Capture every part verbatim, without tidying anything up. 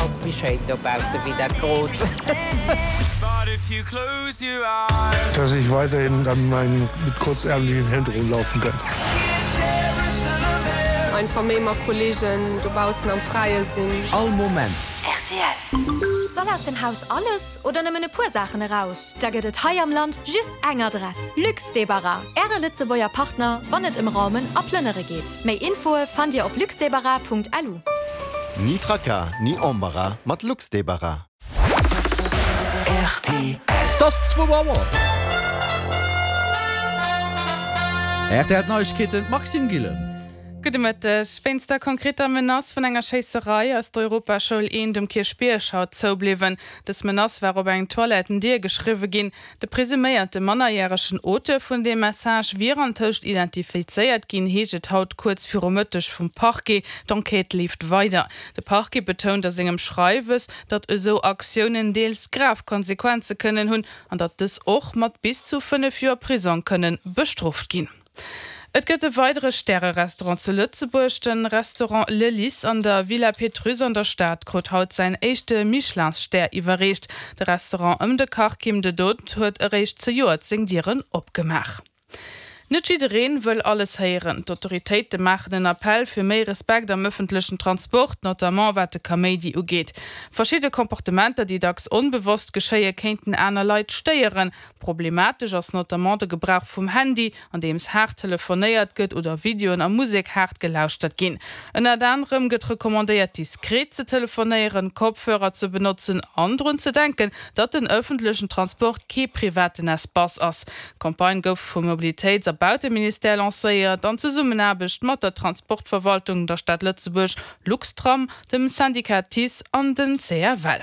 ass méi schéin dobausse wéi dat Grot. Dass ich weiterhin dann mein mit kurzärmlichen Hemd rumlaufen kann. Einfach méi mat Kolleegen dobaussen am Fräie sinn. All Moment. Rtl. Soll aus dem Haus alles oder nëmmen e puer Saachen eraus? Da gëtt et hei am Land just eng Adress, Luxdebarras, Äre Lëtzebuerger Partner, wann et ëm Raumen a Plënnere geet. Méi Infoe fannt Dir op luxdebarras.lu. Ni Tracas, ni Embarras mat Luxdebarras. Rtl. Et ass zwou Auer. Rtl Neiegkeeten, d'Maxime Gillen. Gudde Mëtteg. Wéinst der konkreter Menace vun enger Schéisserei ass d'Europaschoul eent um Kierchbierg haut zoubliwwen. Dës Menace war op eng Toilettendier geschriwwe ginn. De presuméierte mannerjäregen Auteur vun deem Message wier antëscht identifizéiert ginn, heescht et haut kuerz viru Mëtteg vum Parquet. D'Enquête leeft weider. De Parquet betount a sengem Schreiwes, datt esou Aktiounen deels grav Konsequenze kënnen hunn an datt dës och mat bis zu fënnef Joer Prisong kënne bestrooft ginn. Et gëtt e weidere Stärerestaurant zu Lëtzebuerg. De Restaurant Le Lys an der Villa Pétrusse an der Stad krut haut säin éischte Michelin-Stär iwwerreecht. De Restaurant ëm de Kach Kim de Dood huet eréischt zejoert seng Dieren opgemaach. Net jiddereen wëll alles héieren. D'Autoritéite maachen en Appell fir méi Respekt am ëffentlechen Transport, notamment wat de Kaméidi ugeet. Verschidde Comportementer, déi dacks onbewosst geschéie kéinten aner Leit stéieren. Problematesch ass notamment de Gebrauch vum Handy, andeems haart telefonéiert gëtt oder Videoen a Musek haart gelauschtert ginn. Ënnert anerem gëtt recommandéiert, diskret ze telefonéieren, Kopfhörer ze benotzen an drun ze denken, datt den ëffentlechen Transport kee privaten Espace ass. D'Campagne gouf vum Mobilitéits a Bauteministère lancéiert an Zesummenaarbecht mat der Transportverwaltung, der Stad Lëtzebuerg, Luxtram, dem Syndicat TICE an den C F L.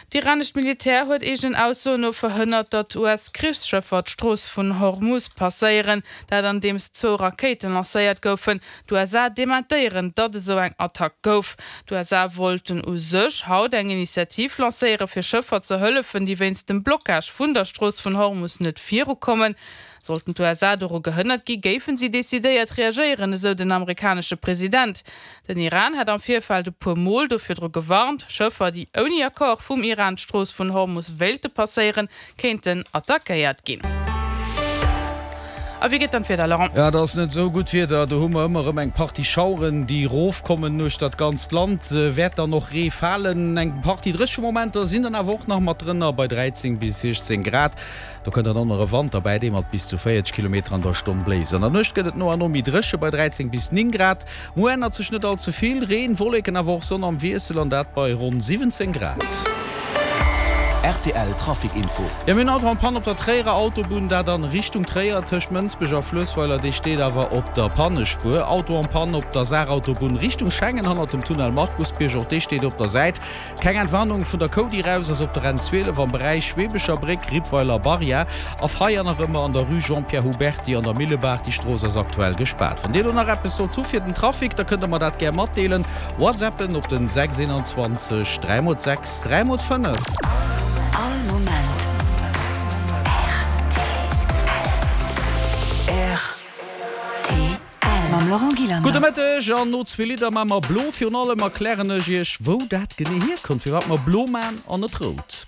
D'iranescht Militär huet eegenen Aussoen no verhënnert, datt U S-Krichsschëffer d'Strooss vun Hormuz passéieren, dat andeems zwou Rakéiten lancéiert goufen. D'U S A dementéieren, datt esou eng Attack gouf. D'U S A wollten u sech haut eng Initiativ lancéiere fir Schëffer ze hëllefen, déi wéinst dem Blockage vun der Strooss vun Hormuz net virukommen. Sollten d'U S A doru gehënnert gi, géifen si decidéiert reagéieren, esou den amerikanesche President. Den Iran hat am Virfeld e puer Mol do virdru gewarnt, Schëffer, déi ouni Accord vum Iran d'Strooss vun Hormuz wéilte passéieren, kéinten attackéiert ginn. A wéi geet dann d'Wieder, Laurent? Ja, dat ass net esou gutt Wieder. Do hu mer ëmmer erëm eng Partie Schaueren, déi erofkommen uechter dat ganzt Land. Wäert dann och Ree falen. Eng Partie dréche Momenter sinn dann awer och nach mat drënner bei dräizéng bis siechzéng Grad. Do kënnt dann och nach e Wand derbäi, dee mat bis zu véierzeg Kilometer an der Stonn bléist. An der Nuecht gëtt et no an no méi dréche bei dräizéng bis néng Grad. Muer ännert sech net all ze vill, Reen, Wolleken awer och Sonn am Wiessel an dat bei ronn siwwenzéng Grad. Rtl Trafic Info. Jo, mir hunn Auto en Panne op der Tréierer Autobunn, dat an Richtung Tréier tëscht Mënsbech a Fluessweiler, dee steet awer op der Pannespuer. Auto en Panne op der Saarautobunn Richtung Schengen hannert dem Tunnel Markusbierg, och dee steet op der Säit. Keng Entwarnung vun der Cody raus ass op der N zwielef am Beräich Schweebecher Bréck, Rippweiler Barrière a Feier nach ëmmer an der Rue Jean-Pierre Huberty an der Millebaach. Déi Strooss ass aktuell gespaart. Wann Dir elo nach eppes sollt hu fir den Trafic, da kënnt der mer dat gär matdeelen. WhatsAppen op den sechs einundzwanzeg dräi mol sechs dräi mol fënnef. All Moment R T L mam Laurent Gillander. Gudde Mëtteg an no zwee Lidder maa mer blo. Virun allem erklären ech iech wou dat genee hierkënnt, firwat mer blo maan an net rout.